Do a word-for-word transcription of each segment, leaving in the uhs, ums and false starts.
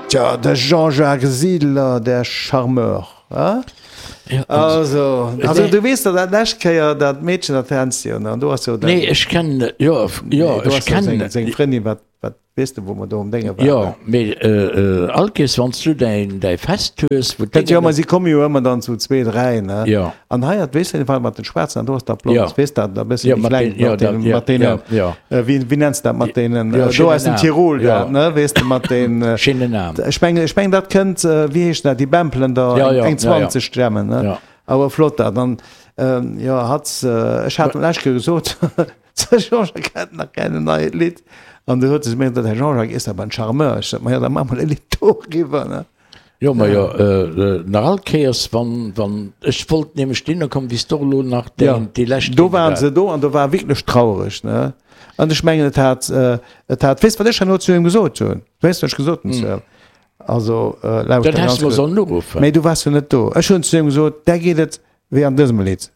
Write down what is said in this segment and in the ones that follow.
Tja, de Jean-Jacques Siedler, der Charmeur, hein? Ja, Also, also du weess der dat lescht Kéier dat Meedchen dat kenns de jo, ne? An do ass jo Nee, ech kennen, jo, jo, do ech ass jo seng, kennen. seng Frëndin, wat, wat weess de, wou mer do um Dénge waren. Jo, mee all Kees, wann s du däin, däi Fest hues, wou Dat jo, d'Déngen. ma si komme jo ëmmer dann zu zwee, dräi, ne? Jo. An hei hat, weess de, war mat den Schwaarzen an do ass dat Blond, Jo. weess dat, da bësse Jo, méi mat kleng, den, jo, mat dat, deenen, jo, mat deenen, jo, jo. äh, wéi, wéi nenns de dat, mat deenen, Jo, äh, do schéinen aus dem Naam. Tirol, Jo. dat, ne, weess de, mat den, äh, Schéinen Naam. ech mengen, ech mengen, dat kënnt, äh, wéi heescht dat, déi Bämpelen da, Ja, ja, eng ja, ja. zwanzeg Stämmen, ne? Ja. Awer flott dat. An, ähm, jo, hat, äh, ech hat lech gesot, ze Jean-Jacques hat nach kein neit Lied. An du huet se mir gesagt, Herr Jean-Jacques ist aber ein Charmeur. Ich sag, ma ja, dann mach mal e Lied doriwwer, ne? Jo, ma jo, äh, nach all Kéiers, wann, wann, ech wollt nämlech dinner kommen, wéi s du elo nach Ja, déi, déi lescht do Dinge waren war. se do an do war wierklech trauereg, ne? An ech mengen, et hat, äh, et hat, weess wat ech herno zu him gesot hunn? Weess wat ech gesot hunn zu him? Also, äh, lauschter Dat häss ganz du mer gutt. sollen uruffen. Mee du waars jo net do. Ech hunn zu him gesot, där geet et wéi an dësem Lidd.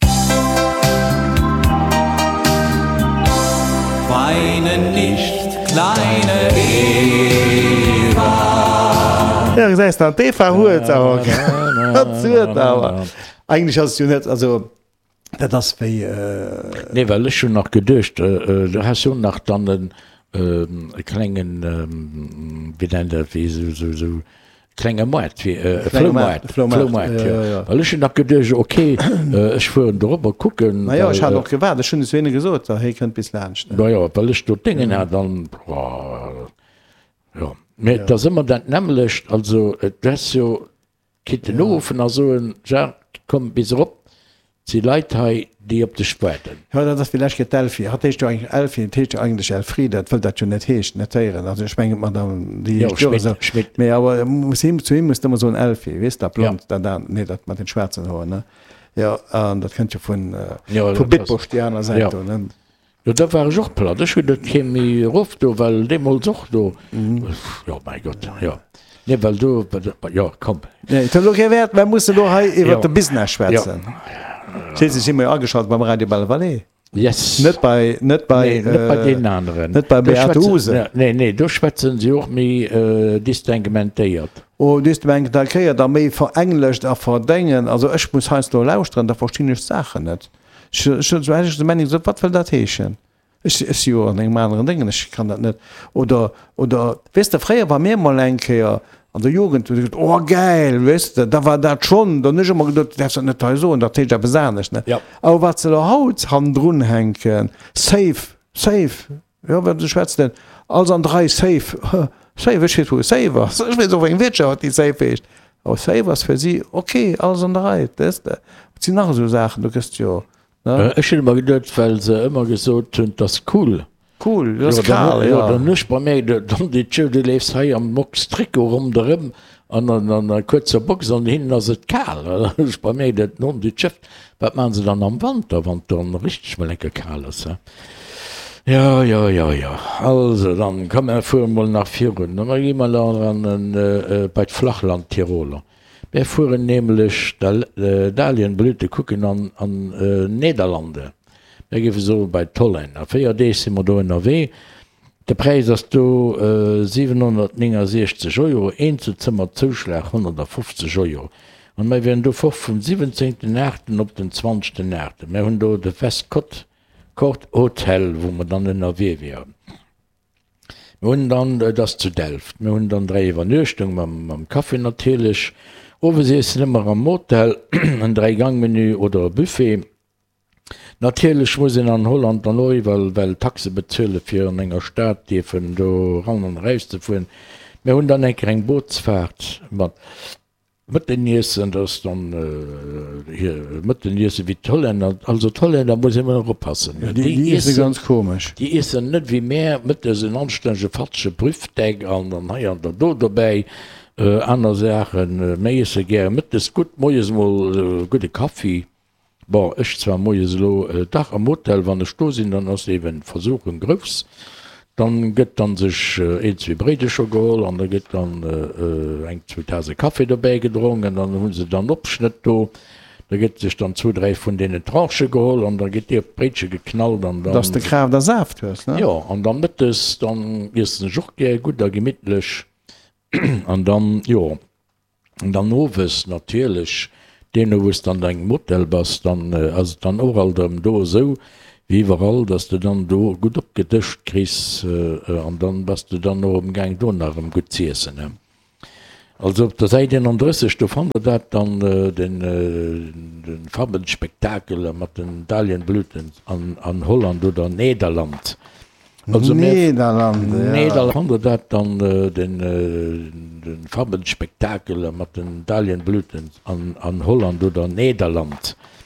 Weine nicht, kleine Eva. Ja, gesäis de, an d'Eva huet awer, hat huet awer. Eigentlech ass et jo net, also dat ass wéi, äh, Nee, well ech hunn nach geduecht, äh, du has jo nach dann en, e klengen, wéi nennt dat, wéi esou, esou, esou klenge Moart, wéi e Floumaart, Floumaart, jo. Well ech hunn nach geduecht, okay, ech fueren dorobber kucken. Ma jo, ech hat och gewaart, ech hunn et zu hinne gesot, da hie kënnt bis laanscht. Ma jo, well ech do d'Déngen hat an, jo. Mee et ass ëmmer dat nämmlecht, also du häss jo kinnten uruffen a soen, Jacques, komm bis erop, et si Leit hei, déi op dech waarden. Jo, dat ass wéi lech Kéier d'Elfi. Hatt heescht jo eigentlech Elfi, et heescht jo eigentlech Elfriede, dat wëll dat jo net heeschen, net héieren. Also ech mengen, d'Madame, déi Jo, heescht jo Schmidt, esou. Schmidt. Mee awer muss him, zu him muss de ëmmer soen Elfi, weess, dat Ja. Blond, dat an, nee, dat mat den schwaarzen Hoer, ne? Jo, an dat kënnt jo vun, Jo, vu dat ass, Bitburg, déi aner Säit jo. do, ne? Jo, da war ech och platt. Ech hunn et kee méi erof do, well deemools och do, jo, mäi Gott, jo. Nee, well do, jo, komm. Nee, et huet elo kee Wäert, mer mussen elo hei iwwert Jo. de Business Jo. schwätzen. Schliisslech si mer jo ageschalt beim Radio Belle Vallée. Yes. Net bei, net bei, Nee, net bei äh, deenen aneren. net bei Do Beate schwätzen, Uhse. nee, nee, do schwätzen se och méi äh, distinguementéiert. Oh, distinguementéiert a méi verenglescht a verdéngen. Also ech muss heiansdo lauschteren, da verstinn ech d'Saachen net. Ech, ech hunn sou ech de Meinung gesot, wat wëll dat heeschen? Ech, ech si jo an engem aneren Déngen, ech kann dat net. Oder, oder, weess de, fréier war mir mol eng Kéier an der Jugend, hu se gesot, oh gäil, weess de, da war dat schonn, dann hunn ech ëmmer geduet, du däerfs dat net hei soen, dat heescht eppes anescht, ne? Ja. Awer wat se elo haut hannendrun hänken, safe, safe, jo, wat schwätzt denn, alles an der Rei, safe, safe, ech weess wou safe ass, ech weess och wéi eng Wirtschaft déi safe heescht, awer safe ass fir si, okay, alles an der Rei, weess de. Et sinn nach esou Saachen, du gëss jo. Ne? Ech hunn ëmmer geduet, well se ëmmer gesot hunn, 't ass cool. Cool, dat ass Jo, dann, kal, jo, jo. dann hunn ech bei mir geduet, dann déi Tjö, du leefs hei am Mox-Trikot ronderëm an an an der kuerzer Box an hinnen ass et kal. Dann hunn ech bei mir geduet, non, déi Tjëft, wat maachen se dann am Wanter, wann et dann richteg mol enke kal ass, he? Jo, jo, jo, jo. Also dann, komm, mer fuere mol nach virun. Da gi mer dann an en, bei d'Flachland-Tiroler. Mär fueren nämlech Dahlienblüte kucken an an Nederlande. Mär géife soe bei d'Hollänner. Véier Deeg si mer do ënnerwee. De Präis ass do siwenhonnertnéngasiechzeg Euro, Eenzelzëmmer-Zouschlag honnertafofzeg Euro. An mär wieren do fort vum siwwenzéngten aachten op den zwanzegten aachten. Mär hunn do de Westcott Court Hotel, wou mer dann ënnerwee wieren. Mir hunn dann, et ass zu Delft, mir hunn dann dräi Iwwernuechtung mam, mam Café natierlech, Owesiessen ëmmer am Hotel, en Dräi-Gang-Menü oder e Buffet. Natierlech muss een an Holland dann och iwwerall well Taxe bezuelen, fir an enger Stad dierfen do eran an eraus ze fueren. Mir hunn dann eng Kéier eng Bootsfaart mat. Mëtteniessen, dat ass dann hir Mëtteniessen wéi d'Hollänner. Also d'Hollänner muss een ëmmer oppassen, Ja, déi, déi iesse ganz komesch. Déi iessen net wéi mär mëttes en anstännege fatzege Brüfdeck an dann hei an der do dobäi aner Saachen. Mär iesse gäre mëttes gutt, moies emol gudde Kaffi. Bon, ech zwar moies elo, dach am Hotel, wann ech do sinn, dann ass eben d'Versuchung grouss. Dann gëtt dann sech een, zwee Bréidecher geholl an da gëtt dann eng, zwou Tase Café dobäi gedronk an dann hu se dann Opschnëtt do. Da gëtt sech dann zwou, dräi vun deenen Tranchë geholl an da gëtt déi op d'Bréitche geknallt an Dass dann. de Kraaft a Saaft hues, ne? Jo, an dann mëttes, dann iessen ech och gär gutt a gemittlech. An dann, jo, an dann owes natierlech, deemno wou s de an dengem Hotel bass, dann ass et dann och alt erëm do esou wéi iwwerall, dass de dann do gutt opgedëscht kriss an dann bass de dann och amgaang do nach erëm gutt z'iessen. Also op der Säit eenandrësseg, do fannt der dat dann, den Farbenspektakel mat den Dahlienblüten an Holland oder Nederland. Also mir Nederland, ja. Nederland fannt der dat dann, den Farbenspektakel mat den Dahlienblüten an Holland oder Nederland.